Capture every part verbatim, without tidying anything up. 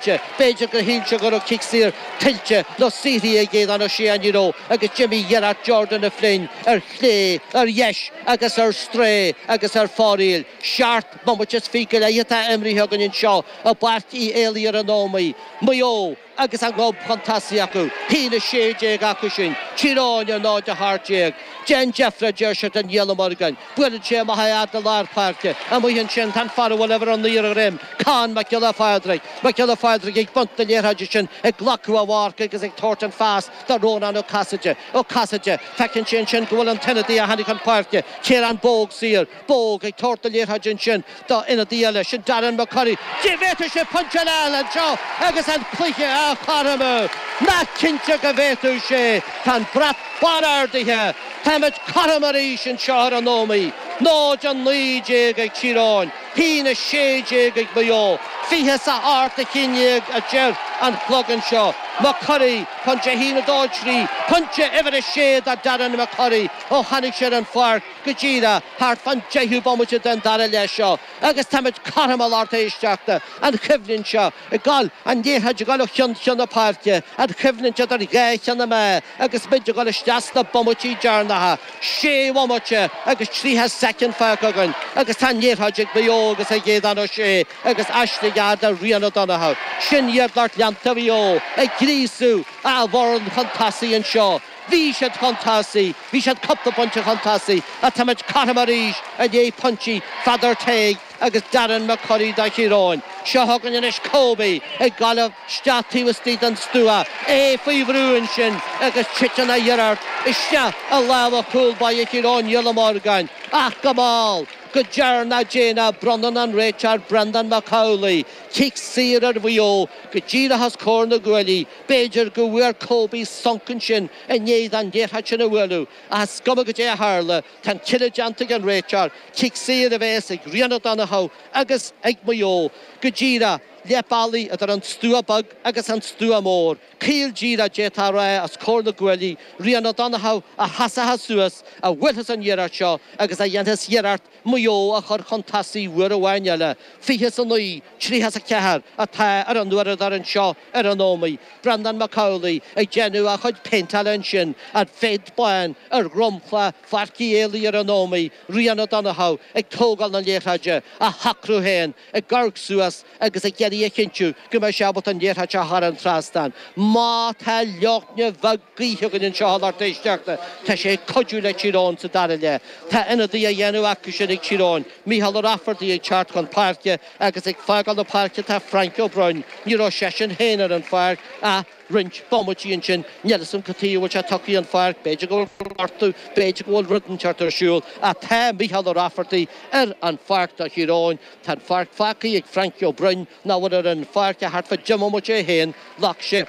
B'fhéidir gur shíl sé go raibh cic saor tuillte nó saothraithe ag Aodhán Ó Sé ach ní raibh agus d'imigh iarracht Jordan O'Flynn ar chlé, ar dheis agus ar strae agus ar fóraoil. Seacht mbomaite is fiche go leith atá imrithe againn anseo i bPáirc Uí Éalaí ar an Ómaigh. Maigh Eo agus an gob chun tosaigh acu, haon a sé déag acu sin, Tír Eoghain ar náid a hocht déag. Déan deifre, a deir siad le Niall Ó Morgáin. Buaileann sé amach a fhad le lár páirce. Amuigh ansin tá an fear a bhfuil uimhir a naoi ar a dhroim, Con Mac Giolla Phádraig. Mac Giolla Phádraig ag baint na liathróide sin, ag glacadh a mharc agus ag tabhairt an phas do Rónán Ó Casaide. Ó Casaide, feiceann sé ansin go bhfuil an t-ionadaí a tháinig chun páirce, Ciarán Bogue saor. Bogue ag tabhairt na liathróide ansin do ionadaí eile, sin Darren McCurry. Bhféadfadh sé pointe eile a fháil anseo agus an cluiche á chothromú. Nach cinnte go bhféadfadh sé. Tá an brat bán ardaithe. Táimid cothrom arís anseo ar an Ómaigh. Náid a naoi déag ag Tír Eoghain, haon a sé déag ag Maigh Eo. Fiche is a hocht a haon déag a deir an clog anseo. McCurry, pointe a haon a dó a trí, pointe uimhir a sé do Darren McCurry ó tháinig sé ar an pháirc go díreach thart fán deichiú bomaite den dara leath seo agus táimid cothrom a lucht éisteachta, an choimhlint seo ag dul, an liathróid ag dul ó cheann ceann na páirce, an choimhlint idir dhá cheann na meá agus muid ag dul isteach sna bomaití deireanacha, sé bhomaite agus tríocha soicind fágtha againn agus tá an liathróid ag Maigh Eo agus ag Aodhán Ó Sé agus aistrithe gearr do Rian O'Donoghue. Sin iad lucht leanta Mhaigh Eo ag gríosú a bhfoireann chun tosaigh anseo. Bhí siad chun tosaigh, bhí siad cúpla pointe chun tosaigh ach táimid cothrom arís i ndiaidh pointí Pheadar Tague agus Darren McCurry do Thír Eoghain. Seo chugainn anois Kobe ag dul isteach taobh istigh den stua, é faoi bhrú ansin agus titeann a iarracht isteach i lámha chúl báire Thír Eoghain, Niall Ó Morgáin, ach go mall, go deireanach déanach bronnann an réiteoir Breandán Mac Amhlaigh cic saor ar Mhaigh Eo go díreach os comhair na gcuaillí. B'fhéidir go bhfuair Kobe sonc ansin i ndiaidh don liathróid sin a bhualadh, ach is cuma goidé a tharla, tá an cinneadh déanta ag an réiteoir, cic saor a bheas ag Rian O'Donoghue agus ag Maigh Eo go díreach leath bealaigh idir an stua beag agus an stua mór. Caol díreach d'fhéadfá a rá os comhair na gcuaillí, Rian O'Donoghue a sheasfas suas, a bhuailfeas an iarracht seo agus a dhéanfas iarracht Maigh Eo a chur chun tosaigh uair amháin eile. Fiche is a naoi, tríocha is a ceathair atá ar an uaireadóir anseo ar an Ómaigh. Breandán Mac Amhlaigh ag déanamh a chuid péinteála ansin, an phéint bán ar dhromchla Pháirc Uí Éalaí ar an Ómaigh, Rian O'Donoghue ag tógáil na liathróide, á shocrú féin, ag amharc suas agus ag iarraidh a chinntiú go mbeidh sé ábalta an liathróid a chur thar an trasnán. Má tá leoithne bheag gaoithe againn anseo a lucht éisteachta, tá sé ag cuidiú le Tír Eoghain sa dara leath. Tá ionadaí á dhéanamh acu sin ag Tír Eoghain, Micheál Ó Raifeartaigh ag teacht chun páirce agus ag fágáil na páirce tá Frainc Ó Broin. Ní raibh seisean féin ar an pháirc ach roinnt bomaití ansin. Níl 'fhios a'm cad chuige a bhfuil sé tugtha an pháirc, b'fhéidir go bhfuil gortú, b'fhéidir go bhfuil rud inteacht ar siúl, ach tá Micheál Ó Raifeartaigh ar an pháirc do Thír Eoghain. Tá an pháirc fágtha ag Frankie Ó Broin, nach bhfuil ar an pháirc ach thart fá deich mbomaite é féin. Ghlac sé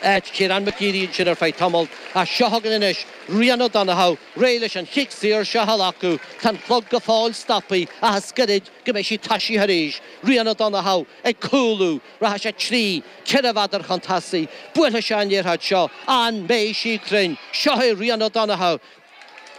áit Ciarán McGeary ansin ar feadh tamaill. Ach seo chugainn anois Rian O'Donoghue, réidh leis an chic saor seo a ghlacadh. Tá an clog go fóill stoptha ach is gairid go mbeidh sí toisithe arís. Rian O'Donoghue ag cúlú. Rachaidh sé trí, ceithre mhéadar chun tosaigh. Buailfidh sé an liathróid seo. An mbeidh sí cruinn? Seo é Rian O'Donoghue.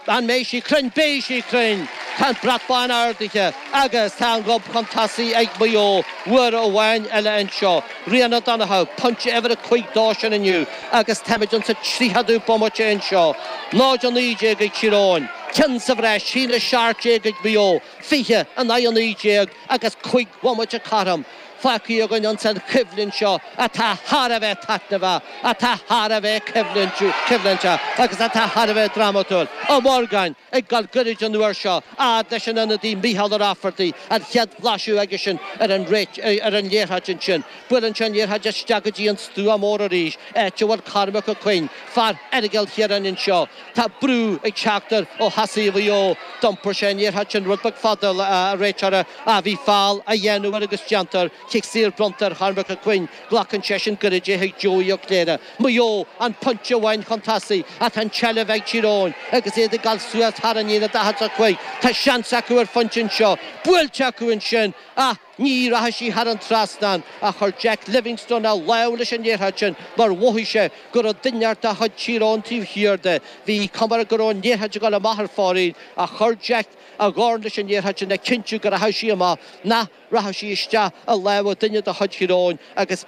An mbeidh sí cruinn? Beidh sí cruinn! Tá an brat bán ardaithe agus tá an gob chun tosaigh ag Maigh Eo uair amháin eile anseo. Rian O'Donoghue, pointe uimhir a cúig dó sin inniu agus táimid insa tríochadú bomaite anseo. Náid a naoi déag ag Tír Eoghain, ceann sa bhreis, haon a seacht déag ag Maigh Eo, fiche in aghaidh a naoi déag agus cúig bhomaite cothrom. Fágtha againn ins an choimhlint seo atá thar a bheith taitneamhach, atá thar a bheith coimhlinteach agus atá thar a bheith drámatúil. Ó Morgáin ag dul gairid an uair seo, fhad leis an ionadaí Micheál Ó Raifeartaigh, an chéad bhlaiseadh aigesean ar an ar an liathróid ansin. Buaileann sé an liathróid isteach go dtí an stua mór arís, áit a bhfuil Cormac Ó Coinn, fear Aireagal Chiaráin anseo. Tá brú ag teacht air ó thosaithe Mhaigh Eo. D'iompair sé an liathróid sin rud beag fada, a réiteora, ach bhí feall á dhéanamh air agus déantar. Cic saor bronnta ar Chormac Ó Coinn. Glacann seisean gairid é chuig Joey Ó Cléire. Maigh Eo an pointe amháin chun tosaigh ach tá an tseilbh ag Tír Eoghain agus iad ag dul suas thar an líne daichead a cúig. Tá seans acu ar phointe anseo. Buailte acu ansin ach Ní rachaidh sí thar an trasnán ach chuir Jack Livingstone a lámh leis an liathróid sin mar mhothaigh sé go raibh duine inteacht de chuid Thír Eoghain taobh thiar de. Bhí cuma air go raibh an liathróid ag dul amach ar fóraoil ach chuir Jack a dhorn leis an liathróid sin le cinntiú go rachadh sí amach, nach rachadh sí isteach i lámha duine de chuid Thír Eoghain agus